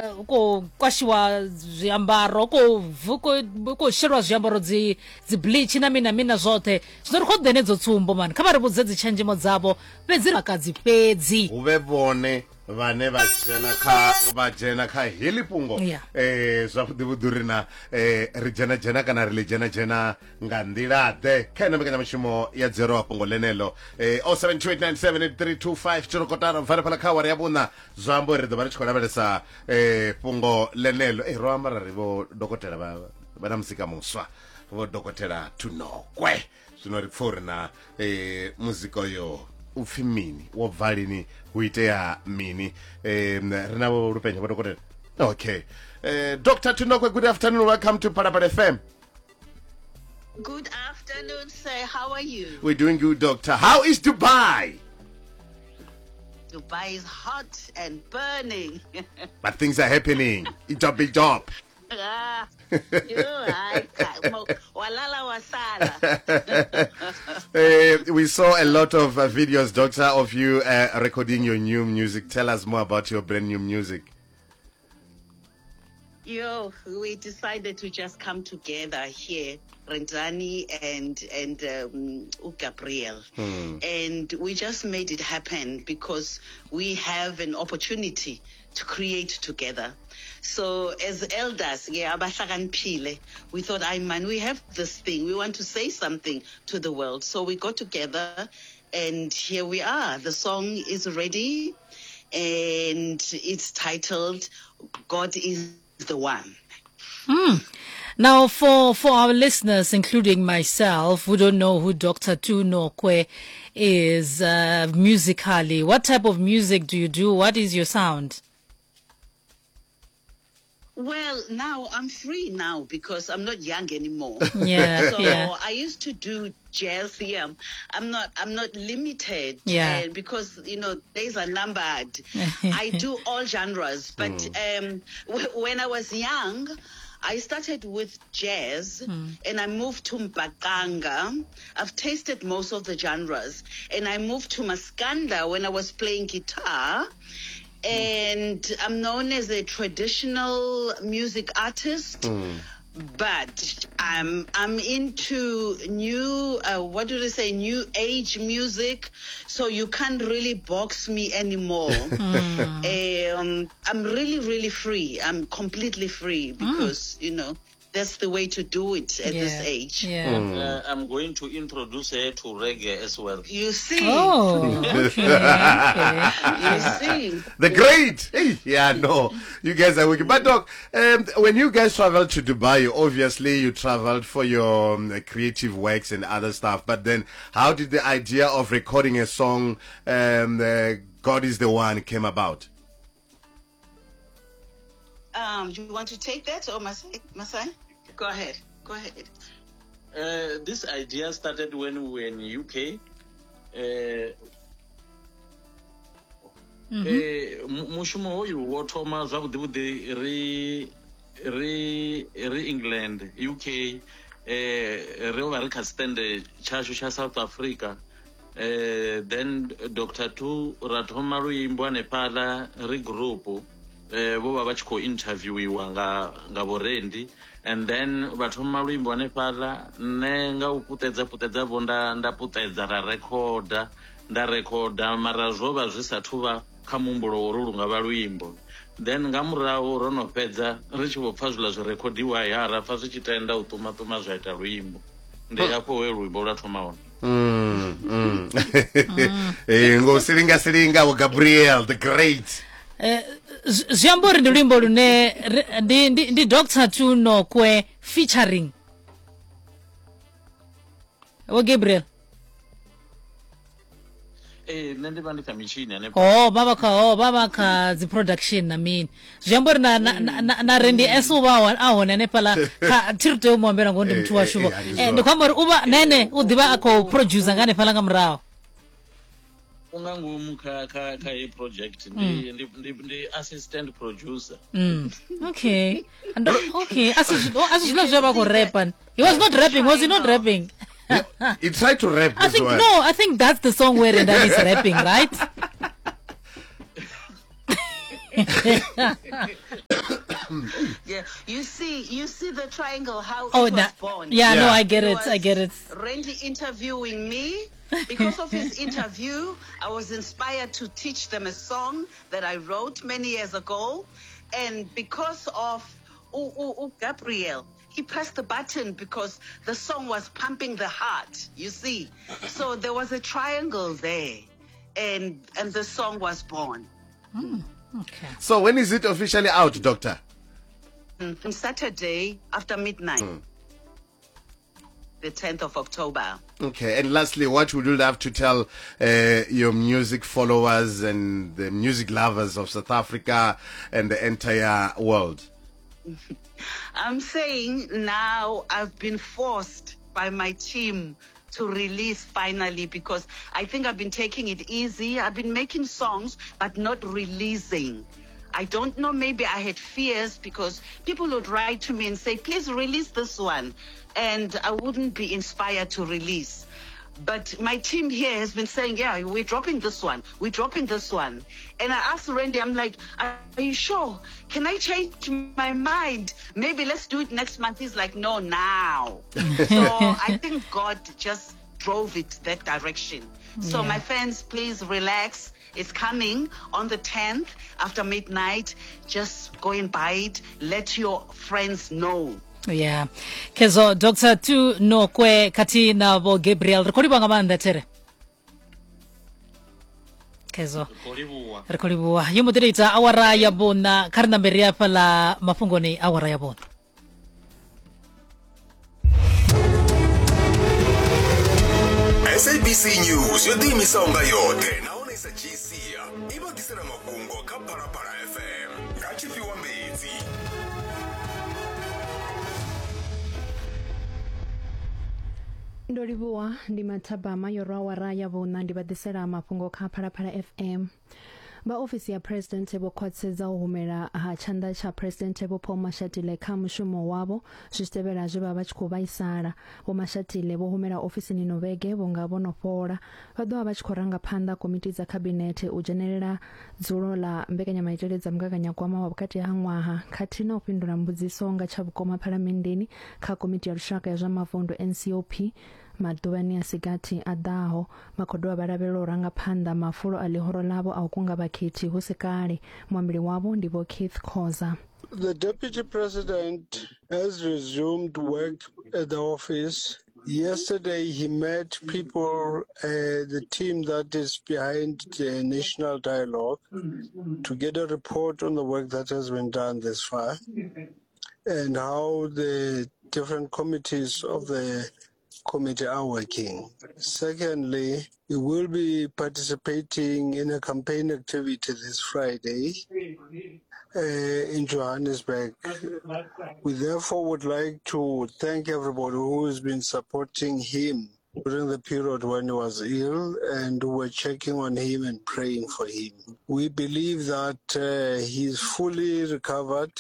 eh, u khou kwashiwa zwiambaro u khou vu- u khou shelwa zwiambaro dzi dzi bleach na mini na mini na zwoṱhe zwino ri khou ḓe henedzo tsumbo mani kha vha ri vhudze dzi tshenzhemo dzavho fhedzi vhakadzi fhedzi hu vhe vhone vhane vha dzhena kha vha dzhena kha heḽi fhungo Yeah. eh zwavhuḓi vhuḓi uri na eh ri dzhena dzhena kana ri ḽi dzhena dzhena nga nḓila ḓe kha ino mbekanyamushumo ya dzero wa fhungo ḽeneḽo eh 0728978325 tshirokotara bva fhala kha awara ya vhuṋa zwa amba uri ri ḓo vha ri tshi khou lavhelesa eh fhungo ḽeneḽo eh ro amba ra ri vho dokotela vha vha na muzika muswa vho dokotela Thunokwe zwino ri pfa uri na eh, muzika uyo u pfi mini wo bva lini hu itea mini eh, ri na vho lupenya vho dokotela okay eh, Dr. Thunokwe good afternoon welcome to Phalaphala FM. Good afternoon, sir. How are you? We're doing good, doctor. How is Dubai? Dubai is hot and burning. But things are happening. It's a big job. Ah, you, I, walala wasala. We saw a lot of videos, doctor, of you recording your new music. Tell us more about your brand new music. Yo, we decided to just come together here, Rendani and Gabriel, and we just made it happen because we have an opportunity to create together. So as elders, yeah, abahlakaniphile, we thought, I man, we have this thing. We want to say something to the world. So we got together, and here we are. The song is ready, and it's titled God is the One. Now, for our listeners, including myself, who don't know who Dr. Tu Nokwe is musically, what type of music do you do? What is your sound? Well, now I'm free now because I'm not young anymore. Yeah, So yeah. I used to do jazz. Yeah, I'm not limited. Yeah. Because days are numbered. I do all genres, but when I was young, I started with jazz and I moved to Mbaqanga. I've tasted most of the genres, and I moved to Maskanda when I was playing guitar. And I'm known as a traditional music artist, but I'm into new, what do they say, new age music. So you can't really box me anymore. I'm really, really free. I'm completely free because, that's the way to do it at this age. Yeah. I'm going to introduce her to reggae as well. You see. Oh, okay, okay. You see. The great. Hey, yeah, no. You guys are wicked. But, Doc, when you guys traveled to Dubai, obviously you traveled for your creative works and other stuff. But then how did the idea of recording a song, God is the One, came about? Do you want to take that, or Masai? Masai? Go ahead. Go ahead. This idea started when we were in UK. Mushumo hoyu wo thoma zwavhuḓi vhuḓi ri England, UK, ri vha ri kha stand tshashu tsha South Africa. Then Dr. Tu ra thoma luimbo hanefhaḽa ri group. Vho vha vha tshi khou interviewiwa nga vhorendi, and then vha thoma luimbo hanefhaḽa, nṋe nga u puṱedza vho nda puṱedza ra rekhoda, nda rekhoda, mara zwo vha zwi sathu vha kha muhumbulo uri lu nga vha luimbo. Then nga murahu ro no fhedza ri tshi vho pfa zwiḽa zwi rekhodiwa, ya ra pfa zwi tshi tenda u ṱuma-ṱuma zwa ita luimbo. Ndi hafho he luimbo lwa thoma hone. Ngo silinga silinga vho Gabriel the Great. Zwi amba uri ndi luimbo lune ndi Dr. Tu Nokwe featuring Vho Gabriel. Nṋe ndi vha ndi kha mitshini hanefha. Oh, vha vha kha dzi production na mini. Zwi amba uri na Randy S u vha a hone hanefhaḽa kha thi ri tea u mu ambela ngori ndi muthu washu vho. Ndi khou amba uri u vha nene u ḓivha a khou producer nga hanefhaḽa nga murahu. U nga ngomu kha heyi project ndi assistant producer. Okay. Okay. Asi zwiḽa zwe vha khou rapa. He was not rapping. Was he not rapping? He tried to rap. I think no. I think that's the song where Rendani is rapping, right? Yeah, you see, you see the triangle how Oh, it was na, born. yeah, no, Yeah. I get It it, I was get it. Randy interviewing me. Because of his interview, I was inspired to teach them a song that I wrote many years ago. And because of Gabriel, he pressed the button because the song was pumping the heart, you see. So there was a triangle there, and the song was born. Okay. So when is it officially out, Doctor? On Saturday after midnight, the 10th of October. Okay, and lastly, what would you love to tell your music followers and the music lovers of South Africa and the entire world? I'm saying now I've been forced by my team to release finally, because I think I've been taking it easy. I've been making songs, but not releasing. I don't know, maybe I had fears because people would write to me and say, please release this one. And I wouldn't be inspired to release. But my team here has been saying, yeah, we're dropping this one. We're dropping this one. And I asked Randy, I'm like, are you sure? Can I change my mind? Maybe let's do it next month. He's like, no, now. So I think God just drove it that direction. So my fans, please relax. It's coming on the 10th after midnight. Just go and buy it. Let your friends know. Yeah. Kezo Dr. Tu Nokwe khathihi na Vho Gabriel ri khou livhuwa nga maanḓa there. Kezo. Ri khou livhuwa. Ri khou livhuwa. Yo mbo ḓi ita awara ya vhuṋa kha ri nambe ri afha ḽa mafhungoni awara ya vhuṋa. SABC News yo ḓiimisaho nga yoṱhe nahone i sa dzhii sia i vha ḓisela mafhungo kha Phalaphala FM nga tshifhiwa Mbedzi. Ndo livhuwa ndi mathabama yo rwa awara ya vhuṋa ndi vha ḓisela mafhungo kha Phalaphala FM. Vha ofisi ya Presidenthe vho khwaṱhisedza u humela ha tshanḓa tsha Presidenthe Vho Paul Mashatile kha mushumo wavho zwi tshi tevhela zwe vha vha tshi khou vhaisala. Vho Mashatile vho humela ofisini ino vhege vhunga vho no fhola. Vha ḓo vha vha tshi khou ranga phanḓa komiti dza khabinethe u dzhenelela dzulo ḽa mbekanyamaitele dza mugaganyagwama wa vhukati ha ṅwaha khathihi na u fhindula mbudziso nga tsha vhukoma phalamenndeni kha komiti ya lushaka ya zwa mavundu NCOP Maḓuvhani a si gathi a ḓaho, vha khou dovha vha lavhelelwa u ranga phanḓa mafulo a ḽihoro ḽavho a u kunga vhakhethi hu si kale. Muambeli wavho ndi Vho Keith Khoza. The Deputy President has resumed work at the office. Yesterday he met people, the team that is behind the national dialogue, to get a report on the work that has been done this far and how the different committees of the committee are working. Secondly, he will be participating in a campaign activity this Friday in Johannesburg. We therefore would like to thank everybody who has been supporting him during the period when he was ill and who were checking on him and praying for him. We believe that he is fully recovered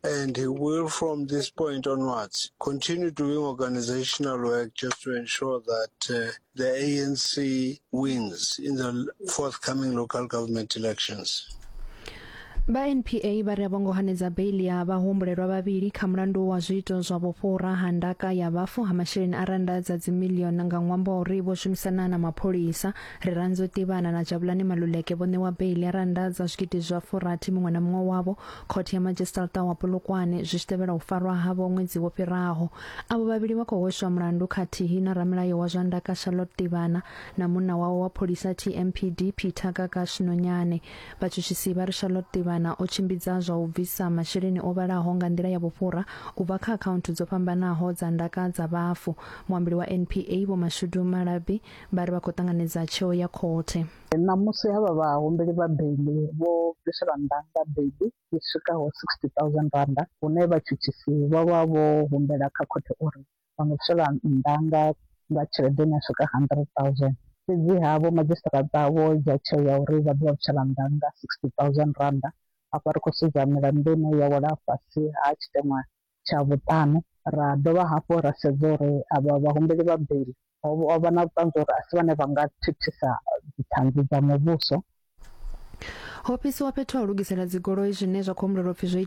and he will, from this point onwards, continue doing organizational work just to ensure that the ANC wins in the forthcoming local government elections. Vha NPA vha ri a vho ngo hanedza beiḽi ya vhahumbulelwa vhavhili kha mulandu wa zwiito zwa vhufhura ha ndaka ya vhafu ha masheleni a rannda dza dzimiḽioni nga ṅwambo wa uri vho shumisana na mapholisa. Rirhandzu Tivhana na Jabulani Maluleke vho ṋewa beiḽi ya rannda dza zwigidi zwa furathi muṅwe na muṅwe wavho khothe ya madzhisiṱiraṱa wa Polokwane zwi tshi tevhela u farwa havho ṅwedzi wo fhiraho. Avho vhavhili vha khou hweswa mulandu khathihi na ramilayo wa zwa ndaka Charlotte Tivhana na munna wawe wa pholisa TMPD Peter Gagash Nonyane. Vhatshutshisi vha ri Charlotte Tivhana o tshimbidza zwa u bvisa masheleni o vhalaho nga nḓila ya vhufhura u bva kha akhaunthu dzo fhambanaho dza ndaka dza vhafu. Muambeli wa NPA Vho Mashudu Malabi vha ri vha khou ṱanganedza tsheo ya khothe. Ṋamusi havha vhahumbeli vha beiḽi vho bviselwa nnḓa nga beiḽi i swikaho R60,000 hune vhatshutshisi vho vha vho humbela kha khothe uri vha nga bviselwa nnḓa nga nga tshelede ine ya swika R100,000. Fhedziha vho madzhisiṱiraṱa vho dzhia tsheo ya uri vha ḓo vha bvisela nnḓa nga R60,000. Afha ri khou sedza milandu ine ya wela fhasi ha tshiteṅwa tsha vhuṱanu. Ra dovha hafhu ra sedza uri avha vhahumbeli vha beiḽi ho vha na vhuṱanzi uri a si vhane vha nga thithisa dziṱhanzi dza muvhuso. Ho fhisiwa fhethu ha u lugisela dzigoloi zwine zwa khou humbulelwa u pfi zwo